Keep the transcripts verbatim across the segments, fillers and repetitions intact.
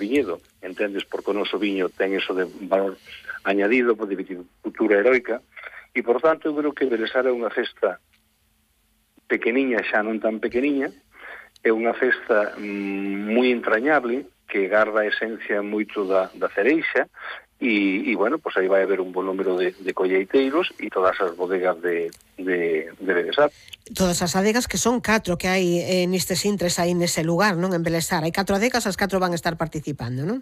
viñedo, entendes, porque o noso viño ten eso de valor añadido, de viticultura heroica, e, por tanto, eu creo que Belesar é unha festa pequeniña, xa non tan pequeniña, é unha festa mm, moi entrañable, que garda a esencia moito da, da cereixa, e, e bueno, pues aí vai haber un bon número de, de colleiteiros e todas as bodegas de, de, de Belesar. Todas as adegas, que son catro que hai eh, nestes intres aí nese lugar, non? En Belesar, hai catro adegas, as catro van a estar participando, non?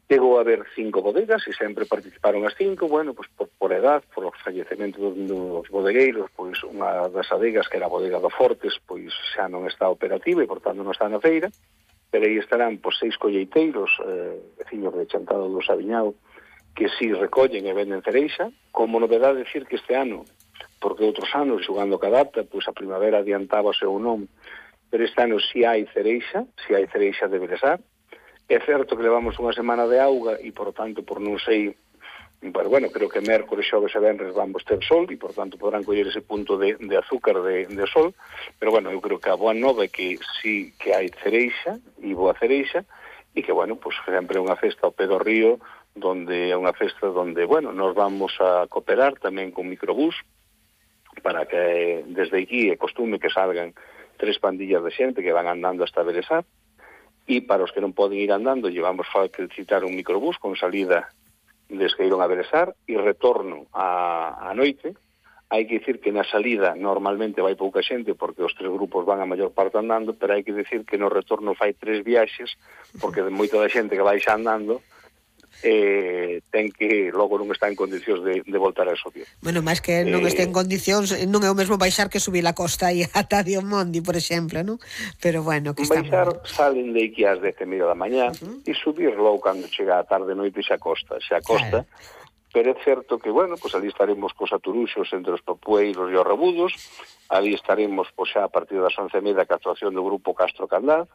Chegou a haber cinco bodegas e sempre participaron as cinco, bueno, pues por, por edad, por os fallecimientos dos bodegueiros, pois unha das adegas, que era a bodega do Fortes, pois xa non está operativa e, por tanto, non está na feira, pero aí estarán pois, seis colleiteiros, eh, veciños de Chantado do Sabiñao, que si recollen e venden cereixa. Como novedade decir que este ano, porque outros anos, xogando ca data, pois a primavera adiantábase ou non, pero este ano si hai cereixa, si hai cereixa de Belesar. É certo que levamos unha semana de auga e, por tanto, por non sei, pero, bueno, creo que mércores, xoves e venres vamos ter sol e, por tanto, podrán coller ese punto de, de azúcar de, de sol, pero, bueno, eu creo que a boa nova é que sí que hai cereixa e boa cereixa e que, bueno, pues sempre é unha festa ao pé do río, donde é unha festa donde, bueno, nos vamos a cooperar tamén con microbús para que desde aquí é costume que salgan tres pandillas de xente que van andando hasta Belesar. E para os que non poden ir andando, llevamos que citar un microbús con salida de Esqueirón a Belesar e retorno a, a noite. Hai que dicir que na salida normalmente vai pouca xente porque os tres grupos van a maior parte andando, pero hai que dicir que no retorno fai tres viaxes porque de moita da xente que vai xa andando eh, ten que logo non está en condicións de, de voltar a subir. Bueno, máis que non eh, este en condicións, non é o mesmo baixar que subir a costa aí ata Diomondi, por exemplo, non? Pero bueno, que está baixar salen de aquí ás dez e media da mañá uh-huh. e subir logo cando chega a tarde noite xa costa, xa costa. Claro. Pero é certo que, bueno, pues ali estaremos cos aturuxos entre os papueiros e os rebudos, ali estaremos pues, xa a partir das once e media ca actuación do grupo Castro Candaz,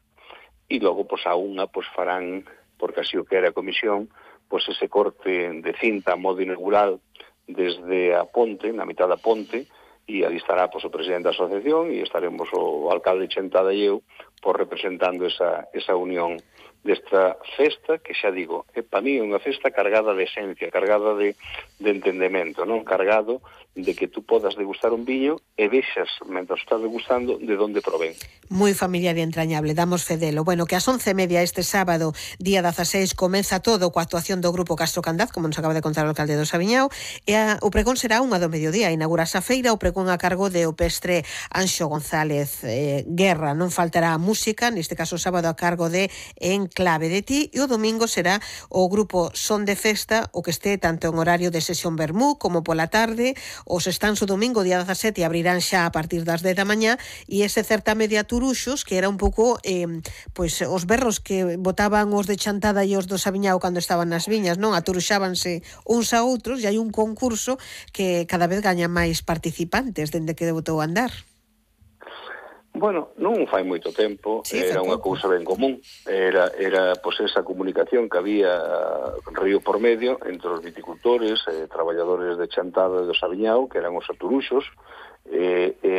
e logo pues, a unha pues, farán, porque así o que era a comisión, pues ese corte de cinta a modo inaugural desde a ponte, na mitad da ponte, e ali estará pues, o presidente da asociación e estaremos o alcalde Chentada e eu por representando esa, esa unión desta festa, que xa digo, é para mí unha festa cargada de esencia, cargada de, de entendemento, non cargado de que tú podas degustar un viño e vexas, mentras estás degustando, de onde provén. Moi familiar e entrañable, damos fedelo. Bueno, que ás once e media este sábado, día dezaseis, comeza todo coa actuación do grupo Castro Candaz, como nos acaba de contar o alcalde do Sabiñao, e a, o pregón será unha do mediodía, inaugurase a feira, o pregón a cargo de o pestre Anxo González eh, Guerra. Non faltará a música, neste caso o sábado a cargo de En Clave de Ti, e o domingo será o grupo Son de Festa, o que este tanto en horario de sesión vermú como pola tarde. Os stands o domingo, día dezasete, abrirán xa a partir das dez da mañá, e ese certame de aturuxos, que era un pouco eh, pois os berros que botaban os de Chantada e os do Sabiñao cando estaban nas viñas, non? Aturuxábanse uns a outros, e hai un concurso que cada vez gaña máis participantes dende que debutou a andar. Bueno, non fai moito tempo, sí, era unha cousa ben común, era, era pois, esa comunicación que había río por medio entre os viticultores, eh, traballadores de Chantada e do Sabiñao, que eran os aturuxos, e, e,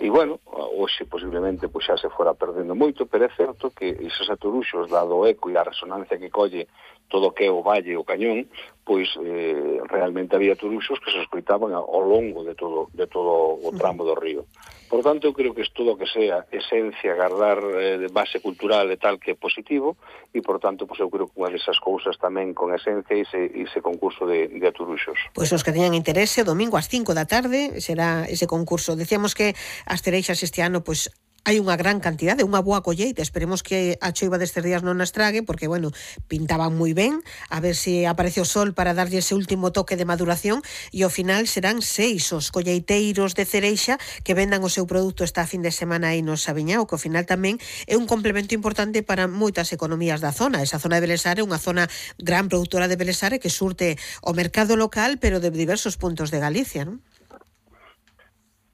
e bueno, hoxe posiblemente pois, xa se fora perdendo moito, pero é certo que esos aturuxos, dado o eco e a resonancia que colle todo o que é o valle e o cañón, pois eh, realmente había aturuxos que se escoitaban ao longo de todo, de todo o tramo do río. Por tanto, eu creo que es todo o que sea esencia, guardar eh, de base cultural e tal que é positivo, e, por tanto, pues, eu creo que unha desas cousas tamén con esencia e ese, ese concurso de, de aturuxos. Pois os que teñan interese, o domingo ás cinco da tarde será ese concurso. Decíamos que as cereixas este ano, pois, hai unha gran cantidade, unha boa colleita. Esperemos que a choiva destes días non as trague, porque, bueno, pintaban moi ben, a ver se aparece o sol para darlle ese último toque de maduración, e ao final serán seis os colleiteiros de cereixa que vendan o seu produto esta fin de semana aí no Sabiñao, que ao final tamén é un complemento importante para moitas economías da zona. Esa zona de Belesar é unha zona gran produtora de Belesar que surte o mercado local, pero de diversos puntos de Galicia, non?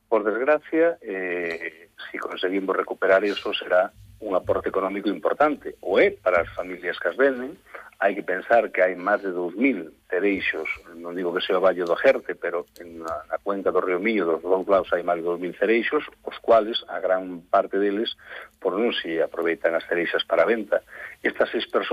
Por desgracia, eh, si conseguimos recuperar eso, será un aporte económico importante. O é para as familias que as venden. Hai que pensar que hai máis de dous mil cereixos, non digo que sea o Valle do Jerte, pero en a, na cuenca do río Miño, dos dous lados, hai máis de dous mil cereixos, os cuales, a gran parte deles, por non se aproveitan as cereixas para a venta. Estas seis persoas